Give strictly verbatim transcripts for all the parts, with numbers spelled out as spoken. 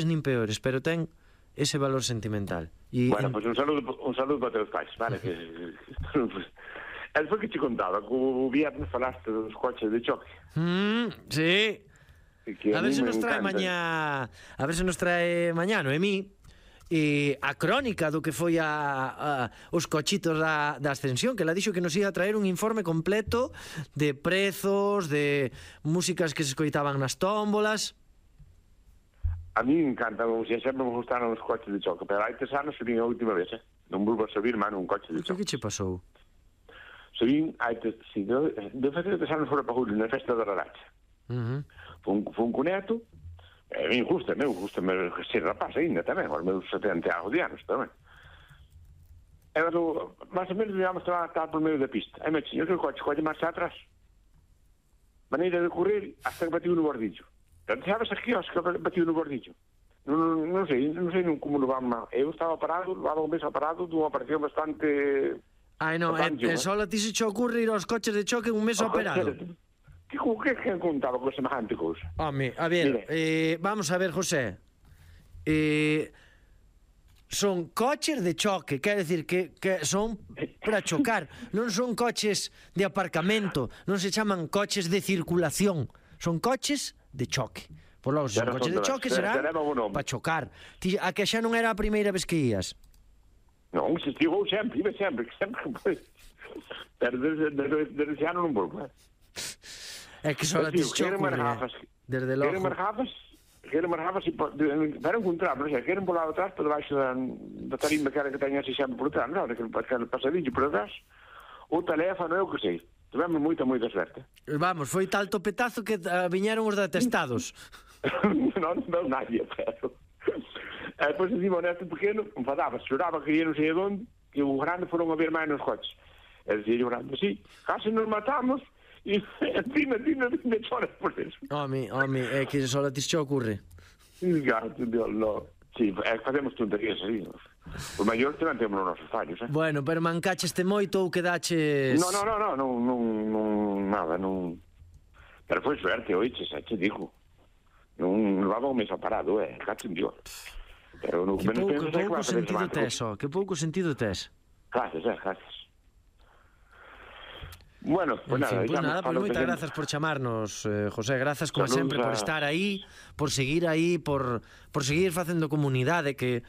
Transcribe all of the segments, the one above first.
nin peores, pero ten ese valor sentimental. Y, bueno, pois pues un saludo un saludo para teus pais, vale? Que el foi que te contaba, que o viernes falaste dos coches de choque. Mm, sí. A ver se nos trae mañá, a ver se nos trae mañá, Noemí, e a crónica do que foi a, a os cochitos da, da Ascensión, que la dixo que nos ia a traer un informe completo de prezos, de músicas que se escoitaban nas tómbolas. A mí me encanta, como se sempre me gustaron os coches de choque, pero hai tres anos subín a última vez, eh? Non volvo a subir, mano, un coche de choque. Que che pasou? Subín, hai tres, si, de, de fazer tres anos fora para Julio, na festa da Raracha. Uh -huh. Fun, fun con neto, e a mí gusta, meu, gusta ser rapaz ainda tamén, aos meus setenta de anos tamén. E pero, máis ou menos, digamos, estaba a por medio da pista. E me dixen, eu que o coche, colle marcha atrás, maneira de correr, hasta que batiu no bordillo. Pero sabes aquí, os que batiu no bordillo? Non, non sei, non sei como lo vamos. Eu estaba parado, levaba un mes parado, dunha operación bastante... Ai, non, e, e só a ti se che ocurre ir aos coches de choque un mes operado. Que que que contaba con semejante cousa? Home, a ver, eh, vamos a ver, José. Eh, son coches de choque, quer decir que, que son para chocar, non son coches de aparcamento, non se chaman coches de circulación, son coches de choque. Por logo, se son coches de choque serán para chocar. Ti, a que xa non era a primeira vez que ías? Non, se estivou sempre, iba sempre, sempre. Pero desde, desde, desde xa non volvo. É que só a ti se ocurre, desde logo. Queren marjafas, queren marjafas, para encontrarnos, queren por lá atrás, por debaixo da, da tarimba que era que teña así sempre por atrás, non, aquele pasadillo por atrás, o teléfono, eu que sei. Tivemos moita, moita suerte. Vamos, foi tal topetazo que uh, viñeron os detestados. non, non nadie, pero... E depois encima o neto pequeno, enfadaba, choraba, quería non sei onde, e o grande foron a ver máis nos coches. E dicía o grande, sí, case nos matamos, e encima, encima, encima, choras por eso. Home, home, é que só a ti se ocurre. Gato, Dios, no. Sí, é que facemos tonterías así, nos. Os maiores tamén temos os nosos fallos, eh? Bueno, pero mancaches-te moito ou quedaches... No, no, no, no, non, non, non, nada, non... Pero foi suerte, oiches, xa te digo. Non levaba un mes parado, eh, cacho en Dios. Pero no que pouco, que pouco sentido tes, ó, que pouco sentido tes. Gracias, eh, gracias. Bueno, pues nada, fin, pues nada, pues moitas grazas por chamarnos, eh, José, grazas como Saludos sempre a... por estar aí, por seguir aí, por, por seguir facendo comunidade, que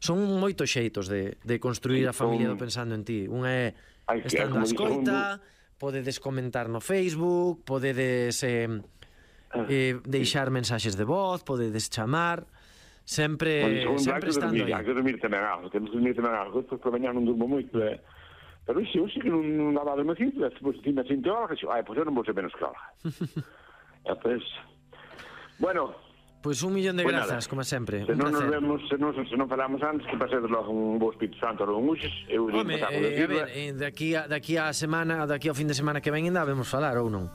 son moitos xeitos de, de construir a familia do Pensando en Ti. Un é estando a escoita, podedes comentar no Facebook, podedes eh, eh, deixar mensaxes de voz, podedes chamar, sempre, bueno, sempre estando aí. Hai que dormir tamén algo, temos que dormir tamén algo, depois por mañá non durmo moito, eh. Pero ixe, eu sei que non daba de mecito, depois ti me sinto algo, que ai, pois eu non vou ser menos que algo. E pois, bueno... Pois un millón de grazas, como sempre, se non nos vemos, se non, se non falamos antes, que pasedes logo un bo Espírito Santo ou un Uxes, eu... Home, eh, a ver, eh, daqui a, daqui a semana, daqui ao fin de semana que ven ainda vemos falar, ou non?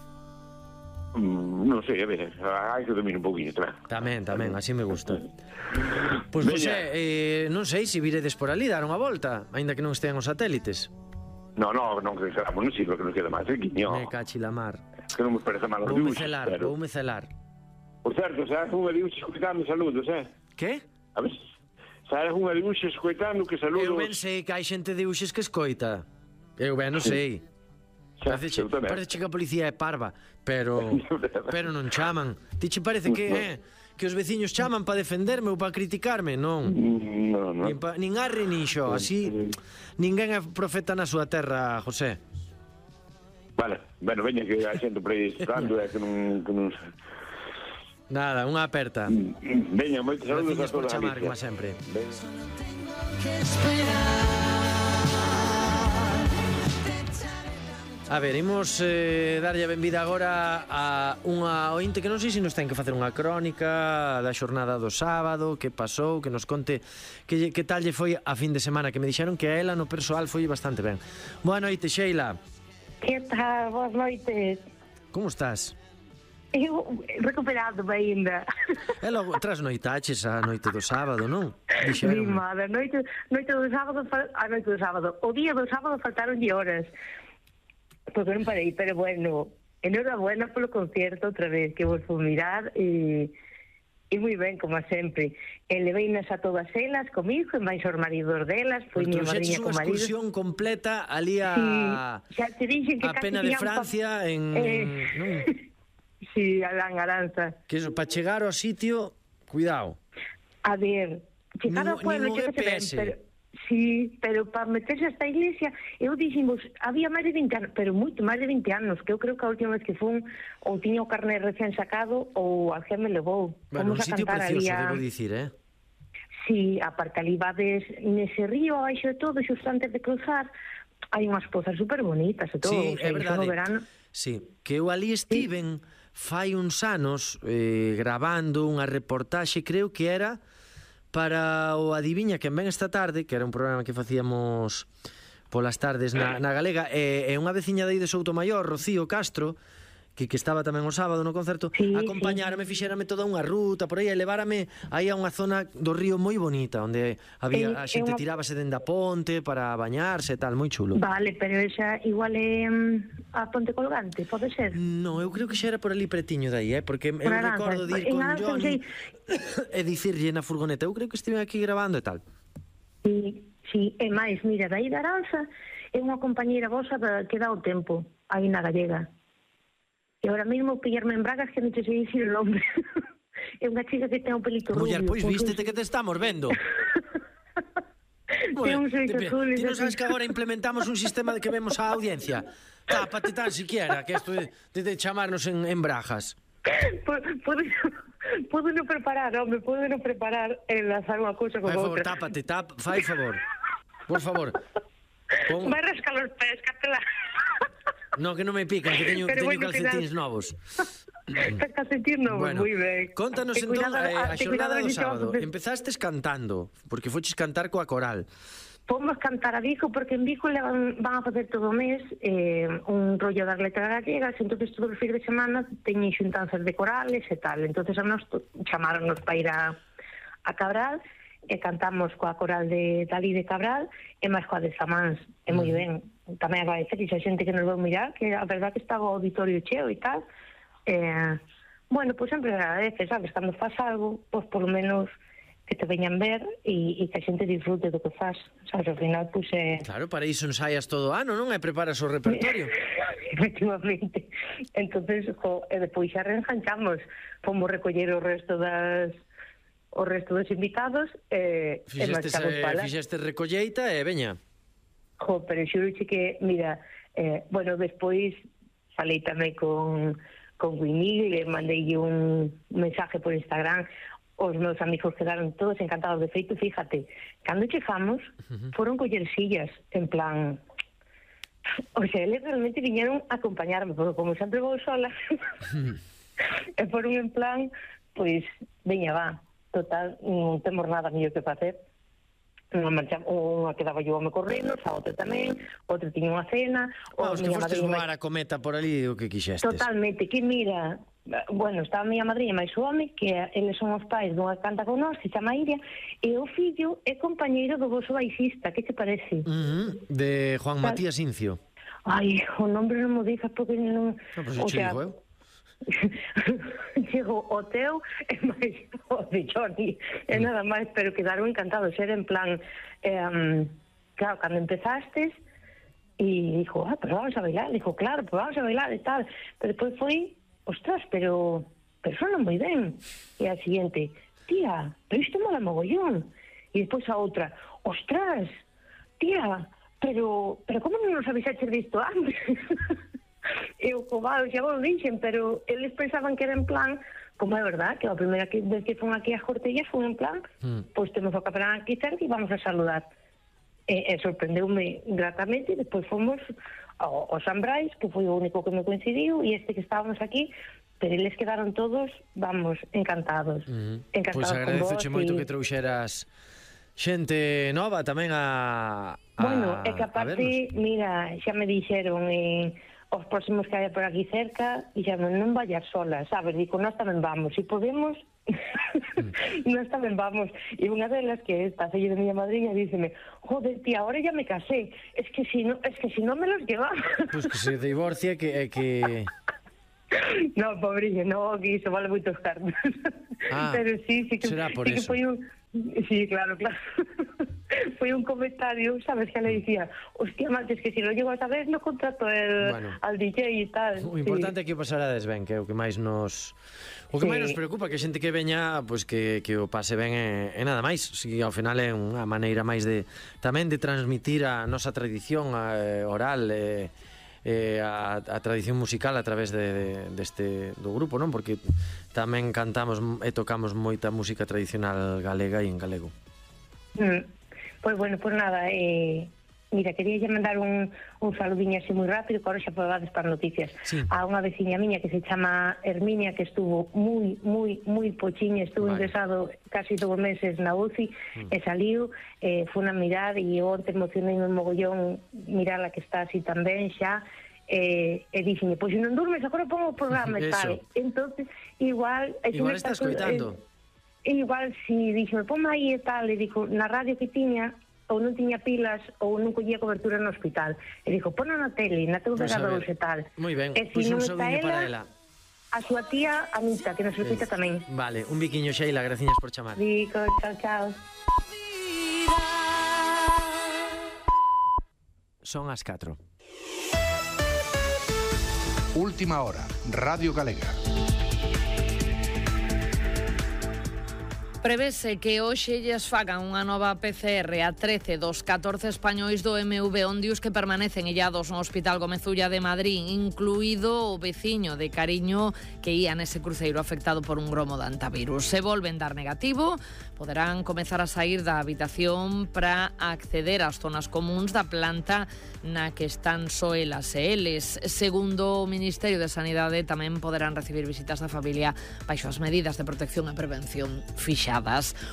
Mm, non sei, a ver, hai que dormir un pouquinho tamén. Tamén, tamén, así me gusta. Pois, José, eh, non sei se viredes por ali, dar unha volta, aínda que non estean os satélites. No, no, non que quedamos, non sirve que nos queda máis, eh, quiño. Me cachi la mar. Que non me parece mal os dibuixos, celar, pero... Voume celar, Por certo, sabes unha dibuixos escoitando saludos, eh? Que? A ver, sabes unha dibuixos escoitando que saludos... Eu ben sei que hai xente de dibuixos que escoita. Eu ben non sei. Parece que a policía é parva, pero pero non chaman. Ti che parece que eh, que os veciños chaman para defenderme ou para criticarme? Non. No, no. Nin, pa, nin arre nin xo, así ninguén é profeta na súa terra, José. Vale, bueno, veña que hai xente por aí estando, é que non, que non... Nada, unha aperta. Veña, moitos saludos a todos. Por chamar, como sempre. Solo tengo que esperar. A ver, imos eh, darlle a benvida agora a unha ointe que non sei se nos ten que facer unha crónica da xornada do sábado, que pasou, que nos conte que, que tal lle foi a fin de semana, que me dixeron que a ela no persoal foi bastante ben. Boa noite, Sheila. Que tal? Boas noites. Como estás? Eu recuperado ainda. E logo trasnoitaches a noite do sábado, non? Mi madre, noite, noite do sábado, a noite do sábado, o día do sábado faltaron de horas. Porque non parei, pero bueno, enhorabuena polo concierto outra vez, que vos vou mirar e, E moi ben, como sempre. E leveinas a todas elas comigo, e máis os maridos delas, foi miña madriña con unha marido. excursión completa ali a, Sí, xa te dixen que a casi Pena de tiñan pa- Francia en... Eh, non? Sí, a Langaranza. Que eso, para chegar ao sitio, cuidado. A ver, chegar Nin- ao pueblo, nin o chegase ben, G P S. pero... Sí, pero para meterse hasta a iglesia, eu diximos, había máis de vinte anos, pero moito máis de vinte anos, que eu creo que a última vez que fun, ou tiña o carné recén sacado, ou alguén me levou. Bueno, un Fomos a sitio cantar precioso, ali a... debo dicir, eh? Sí, aparte ali vades nese río, abaixo de todo, xusto antes de cruzar, hai unhas pozas super bonitas e todo. Sí, o sea, é iso verdade. no verano. Sí, que eu ali estiven fai uns anos eh, grabando unha reportaxe, creo que era para o Adiviña quen ven esta tarde, que era un programa que facíamos polas tardes na, na Galega, e, e unha veciña de aí de Soutomaior, Rocío Castro, que, que estaba tamén o sábado no concerto, Sí, acompañárame, sí. fixérame toda unha ruta por aí, e levárame aí a unha zona do río moi bonita, onde había Eh, a é xente unha- tirábase dende a ponte para bañarse e tal, moi chulo. Vale, pero esa igual é mm, a Ponte Colgante, pode ser? No, eu creo que xa era por ali pretiño de aí, eh? Porque eu Aranzas. recordo de ir En con Aranzas, Johnny sí. e dicirlle na furgoneta, eu creo que estive aquí grabando e tal. Sí, sí, e máis, mira, daí da Aranza é unha compañeira vosa da, que dá o tempo, aí na Gallega. E ahora mesmo pillarme en bragas que non te sei dicir o nome. É unha chica que ten o pelito rubio. Muller, pois con vístete sus- que te estamos vendo. Ten un Muller, xeito ti- azul. ti non sabes que agora implementamos un sistema de que vemos a audiencia. Tápate tan siquiera, que isto de, de, de chamarnos en, en brajas. Podo, podo non preparar, home, podo non preparar enlazar unha cousa con Fai favor, outra. tápate, tap, fai favor. Por favor. Pon... Vai rascar os pés, catela. No, que non me pican, que teño, Pero teño bueno, calcetins cuidado. novos. Estás calcetín novo, Bueno, moi ben. contanos Ten entón cuidado, eh, a ten xornada cuidado do que sábado. te vas a- Empezastes cantando, porque foches cantar coa coral. Fomos cantar a Vigo porque en Vigo levan, van a facer todo o mes eh, un rollo das letras gallegas, entonces todos os fins de semana teñen xuntanzas de corales e tal, entonces a nos chamaronnos para ir a, a Cabral e cantamos coa coral de Dalí de Cabral e máis coa de Samáns, e moi ben. Tamén agradecer a xente que nos veu mirar, que a verdad que estaba o auditorio cheo e tal. Eh, bueno, pois sempre agradece, sabes, cando faz algo, pois polo menos que te veñan ver e, e que a xente disfrute do que faz, sabes, ao final, pois é... Claro, para iso ensaias todo o ano, non? E preparas o repertorio. Efectivamente. Entonces, jo, e depois xa reenganchamos, fomos recoller o resto das o resto dos invitados e, e Fixestes, marchamos eh, para. fixestes recolleita e veña. Jo, pero xuroche que, mira, eh, bueno, despois falei tamén con, con Guimil, le mandei un mensaje por Instagram, os meus amigos quedaron todos encantados. De feito, fíjate, cando chegamos, uh-huh. foron coller sillas, en plan... O sea, eles realmente viñeron a acompañarme, porque como sempre vou sola, e foron en plan, pois, veña, va, total, non temos nada mellor que facer. Unha, marcha, unha quedaba yo home correndo, a outra tamén, outra tiña unha cena. Vamos, que miña fostes madriña voar a cometa por ali o que quixestes. Totalmente, que mira, bueno, estaba a miña madriña máis o home, que eles son os pais dunha que canta con nós, que se chama Iria, e o fillo é compañeiro do vosso baixista, que te parece? Uh -huh. De Juan Tal. Matías Incio. Ai, o nombre non mo dixas porque non... No, pues o che digo eu. Chego o teu e máis o de Johnny, e nada máis, pero quedaron encantados, era en plan, eh, um, claro, cando empezastes, e dijo, ah, pero vamos a bailar, dijo, claro, pues vamos a bailar e tal, pero despois foi, ostras, pero, pero sonan moi ben, e a siguiente, tía, pero isto mola mogollón, e despois a outra, ostras, tía, pero, pero como non nos avisaches disto antes? Eu, cobado, xa vos dixen, pero eles pensaban que era en plan, como é verdad, que a primeira que, vez que fun aquí as Cortellas fun en plan, mm. pois temos o capelán aquí cerca e vamos a saludar. E, e sorprendeume gratamente, e despois fomos ao, ao San Brais, que foi o único que me coincidiu, e este que estábamos aquí, pero eles quedaron todos, vamos, encantados. Mm. Encantados Pois con vos. agradezoche moito e... que trouxeras xente nova tamén a, a Bueno, é que a aparte, vernos. mira, xa me dixeron en os próximos que haya por aquí cerca, e xa non vayas sola, sabes? Dico, nós tamén vamos, se podemos, nós tamén vamos. E unha delas, que está filla de miña madriña, díceme, joder, tía, ahora ya me casé, es que si no, es que si no me los llevaba. Pois pues que se divorcie que, é que No, pobriño, no, que iso vale moitos cartos. Ah, pero sí, sí que, será por sí que eso. foi un... Sí, claro, claro. Foi un comentario, sabes, que le dicía, hostia, macho, es que si lo llego a saber, no contrato el, Bueno. al D J e tal. O importante é que o pasarades ben, que é o que máis nos... O que Sí. máis nos preocupa, que a xente que veña, pois que, que o pase ben e, e nada máis. Si ao final é unha maneira máis de tamén de transmitir a nosa tradición a, oral e, e a, a tradición musical a través de, de, deste do grupo, non? Porque tamén cantamos e tocamos moita música tradicional galega e en galego. Mm. Pois bueno, pues nada, eh, mira, quería lle mandar un, un saludiño así moi rápido, que ahora xa podades para noticias. Sí. A unha veciña miña que se chama Herminia, que estuvo moi, moi, moi pochiña, estuvo Vale. ingresado casi dous meses na U C I, Mm. e saliu, eh, foi a mirar, e onte emocionei un mogollón mirala que está así tamén xa, eh, e dixenme, pois se non durmes, agora pongo o programa e tal. Eso. Entonces, igual... e se Igual me estás pasou, coitando. eh, E igual, si dixo, ponme aí e tal, e dixo, na radio que tiña, ou non tiña pilas, ou non collía cobertura no hospital. E dixo, ponna na tele, na teu Pois a operador ver. e tal. Moi ben, E pois si un non está saudiño para ela, ela. a súa tía Anita, que nos escuita tamén. Vale, un biquiño, Sheila, graciñas por chamar. Dico, chao, chao. Son as catro. Última hora, Radio Galega. Prevese que hoxe lles fagan unha nova P C R a trece dos catorce españois do M V Ondius que permanecen illados no Hospital Gómez Ulla de Madrid, incluído o veciño de Cariño que ía nese cruceiro afectado por un gromo de antivirus. Se volven dar negativo, poderán comezar a sair da habitación para acceder ás zonas comuns da planta na que están só elas e eles. Segundo o Ministerio de Sanidade, tamén poderán recibir visitas da familia baixo as medidas de protección e prevención fixadas.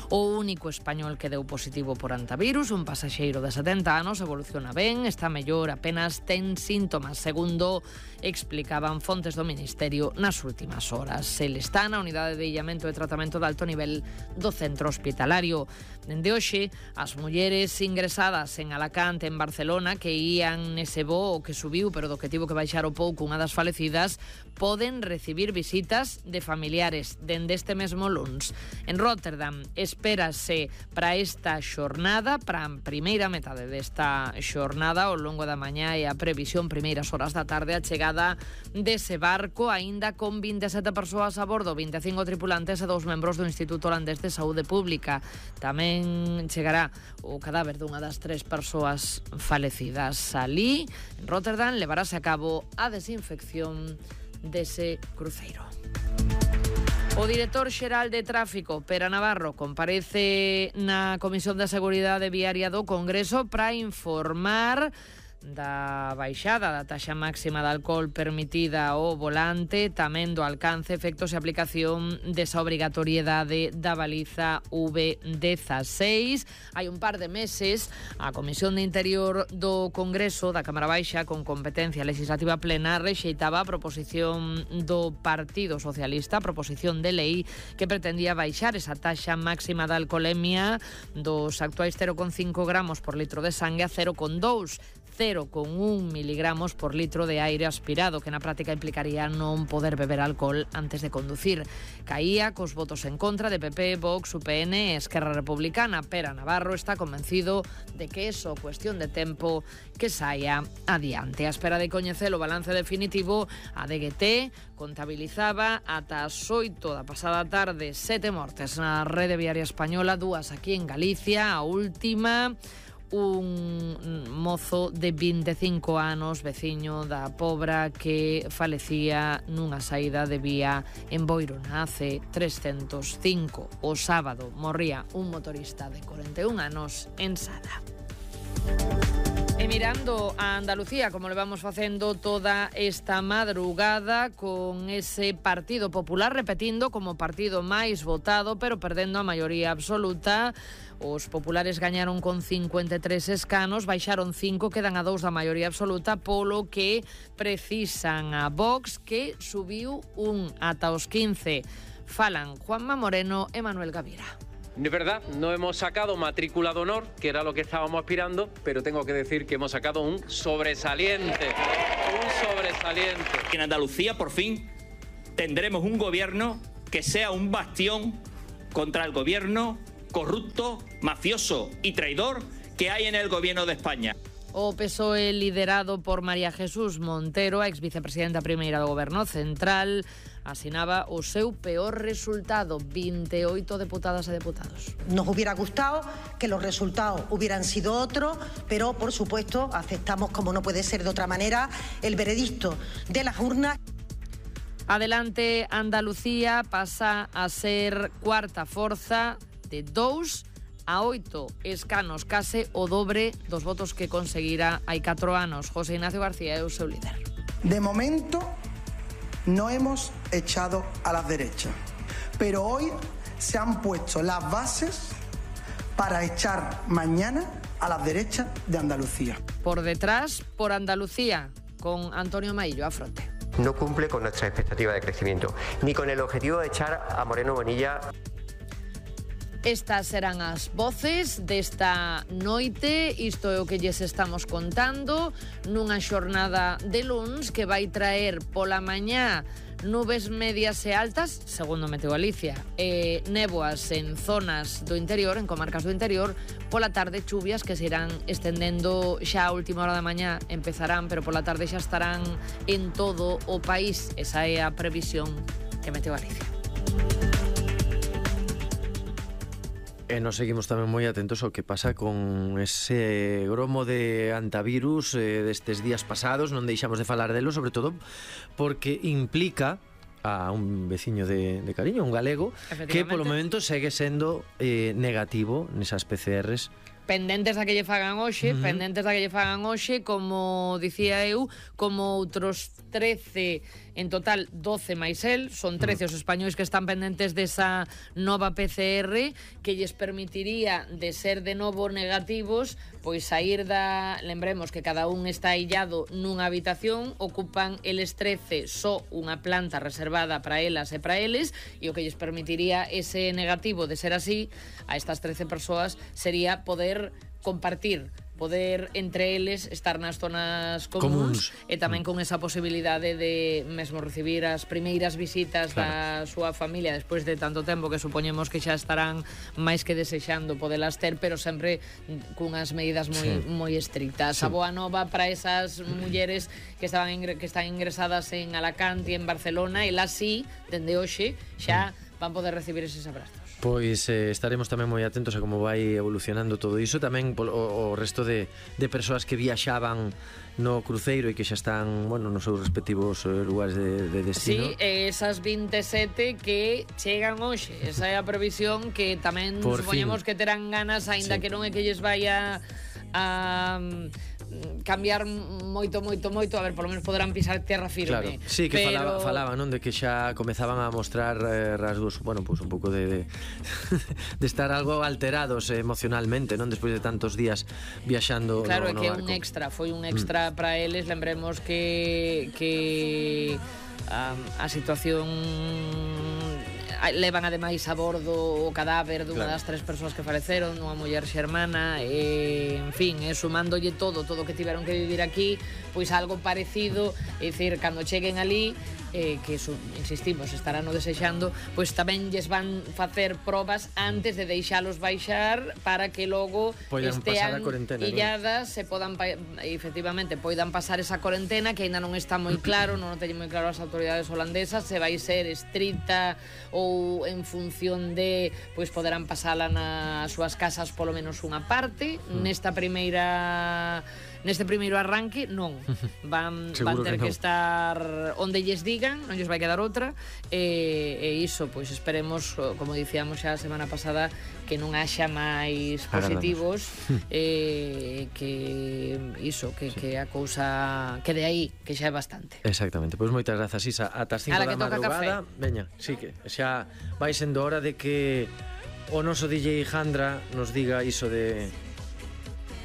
O único español que deu positivo por antivirus, un pasaxeiro de setenta anos, evoluciona ben, está mellor, apenas ten síntomas, segundo explicaban fontes do Ministerio nas últimas horas. El está na unidade de illamento e tratamento de alto nivel do centro hospitalario. Dende hoxe, as mulleres ingresadas en Alacante, en Barcelona, que ían nese voo que subiu, pero do que tivo que baixar o pouco unha das falecidas, poden recibir visitas de familiares dende este mesmo luns. En Rotterdam espérase para esta xornada, para a primeira metade desta xornada, ao longo da mañá e a previsión primeiras horas da tarde, a chegada dese barco, aínda con vinte e sete persoas a bordo, vinte e cinco tripulantes e dous membros do Instituto Holandés de Saúde Pública. Tamén chegará o cadáver dunha das tres persoas falecidas. Alí, en Rotterdam, levarase a cabo a desinfección dese cruceiro. O director xeral de Tráfico, Pera Navarro, comparece na Comisión de Seguridade Viaria do Congreso para informar da baixada da taxa máxima de alcohol permitida ao volante, tamén do alcance, efectos e aplicación desa obrigatoriedade da baliza V dezasseis. Hai un par de meses, a Comisión de Interior do Congreso da Cámara Baixa, con competencia legislativa plena, rexeitaba a proposición do Partido Socialista, a proposición de lei que pretendía baixar esa taxa máxima de alcoholemia dos actuais cero coma cinco gramos por litro de sangue a cero coma dous, cero coma un miligramos por litro de aire aspirado, que na práctica implicaría non poder beber alcohol antes de conducir. Caía cos votos en contra de P P, Vox, U P N e Esquerra Republicana. Pera Navarro está convencido de que é só cuestión de tempo que saia adiante. A espera de coñecer o balance definitivo, a D G T contabilizaba ata as oito da pasada tarde sete mortes na rede viaria española, dúas aquí en Galicia, a última un mozo de vinte e cinco anos, veciño da Pobra, que falecía nunha saída de vía en Boiro na A C trescentos cinco. O sábado morría un motorista de corenta e un anos en Sada. E mirando a Andalucía, como le vamos facendo toda esta madrugada, con ese Partido Popular repetindo como partido máis votado, pero perdendo a maioría absoluta. Os populares gañaron con cincuenta e tres escanos, baixaron cinco, quedan a dous da maioría absoluta, polo que precisan a Vox, que subiu un ata os quince. Falan Juanma Moreno e Manuel Gavira. De verdad, no hemos sacado matrícula de honor, que era lo que estábamos aspirando, pero tengo que decir que hemos sacado un sobresaliente, un sobresaliente. En Andalucía, por fin, tendremos un gobierno que sea un bastión contra el gobierno corrupto, mafioso y traidor que hay en el gobierno de España. O P S O E liderado por María Jesús Montero, a ex vicepresidenta primeira do Goberno Central, asinaba o seu peor resultado, veintiocho deputadas e deputados. Nos hubiera gustado que los resultados hubieran sido otros, pero por supuesto aceptamos, como no puede ser de otra manera, el veredicto de las urnas. Adelante, Andalucía pasa a ser cuarta forza de dous a oito escanos, case o dobre dos votos que conseguirá hai catro anos. José Ignacio García é o seu líder. De momento no hemos echado a las derechas, pero hoy se han puesto las bases para echar mañana a las derechas de Andalucía. Por detrás, por Andalucía, con Antonio Maillo a fronte. No cumple con nuestra expectativa de crecimiento, ni con el objetivo de echar a Moreno Bonilla. Estas serán as voces desta noite, isto é o que lles estamos contando, nunha xornada de luns que vai traer pola mañá nubes medias e altas, segundo Meteo Galicia, e néboas en zonas do interior, en comarcas do interior, pola tarde chuvias que se irán estendendo xa a última hora da mañá, empezarán, pero pola tarde xa estarán en todo o país. Esa é a previsión que Meteo Galicia. E nos seguimos tamén moi atentos ao que pasa con ese gromo de antivirus eh, destes días pasados. Non deixamos de falar delo, sobre todo porque implica a un veciño de, de Cariño, un galego, que polo momento segue sendo eh, negativo nesas P C Rs. Pendentes a que lle fagan hoxe, uh -huh. pendentes a que lle fagan hoxe, como dicía eu, como outros trece, en total doce máis el, son trece os españois que están pendentes desa nova P C R que lles permitiría, de ser de novo negativos, pois sair da... Lembremos que cada un está illado nunha habitación, ocupan eles trece só unha planta reservada para elas e para eles, e o que lles permitiría ese negativo de ser así, a estas trece persoas, sería poder compartir, poder entre eles estar nas zonas comuns, comuns. E tamén con esa posibilidade de mesmo recibir as primeiras visitas claro. da súa familia despois de tanto tempo, que supoñemos que xa estarán máis que desexando podelas ter, pero sempre cunhas medidas moi sí. moi estrictas. Sí. A boa nova para esas mulleres que estaban ingre, que están ingresadas en Alacante e en Barcelona, elas sí, dende hoxe, xa van poder recibir eses abrazos. Pois eh, estaremos tamén moi atentos a como vai evolucionando todo iso. Tamén o, o resto de, de persoas que viaxaban no cruceiro e que xa están, bueno, nos seus respectivos lugares de, de destino. Sí, esas veintisiete que chegan hoxe. Esa é a previsión que tamén Por supoñemos fin. que terán ganas, aínda sí. que non é que lles vaya a cambiar moito, moito, moito, a ver, polo menos poderán pisar terra firme. Claro, sí, que pero... falaba, falaba, non, de que xa comezaban a mostrar eh, rasgos, bueno, pues un pouco de, de de estar algo alterados eh, emocionalmente, non, despois de tantos días viaxando claro, no, no que barco. un extra, foi un extra mm. para eles, lembremos que que um, a situación levan ademais a bordo o cadáver dunha claro. das tres persoas que faleceron, unha muller xermana, e, en fin, e sumándolle todo, todo o que tiveron que vivir aquí, pois algo parecido, é dicir, cando cheguen ali, eh, que, su, insistimos, estarán o desexando, pois tamén lles van facer probas antes de deixalos baixar para que logo poidan estean ¿no? illadas, se podan, efectivamente, poidan pasar esa cuarentena, que ainda non está moi claro, non o teñen moi claro as autoridades holandesas, se vai ser estricta ou en función de, pois poderán pasala nas súas casas polo menos unha parte. Mm. Nesta primeira neste primeiro arranque non van, van ter que, que estar onde lles digan, non lles vai quedar outra, e, e iso, pois esperemos, como dicíamos xa a semana pasada, que non haxa máis positivos, e que iso, que, sí. que a cousa quede aí, que xa é bastante. Exactamente, pois moitas grazas, Isa. Ata as cinco da madrugada, veña, sí, que xa vai sendo hora de que o noso D J Jandra nos diga iso de...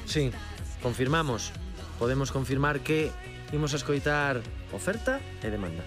Sí, confirmamos, podemos confirmar que imos a escoitar oferta e demanda.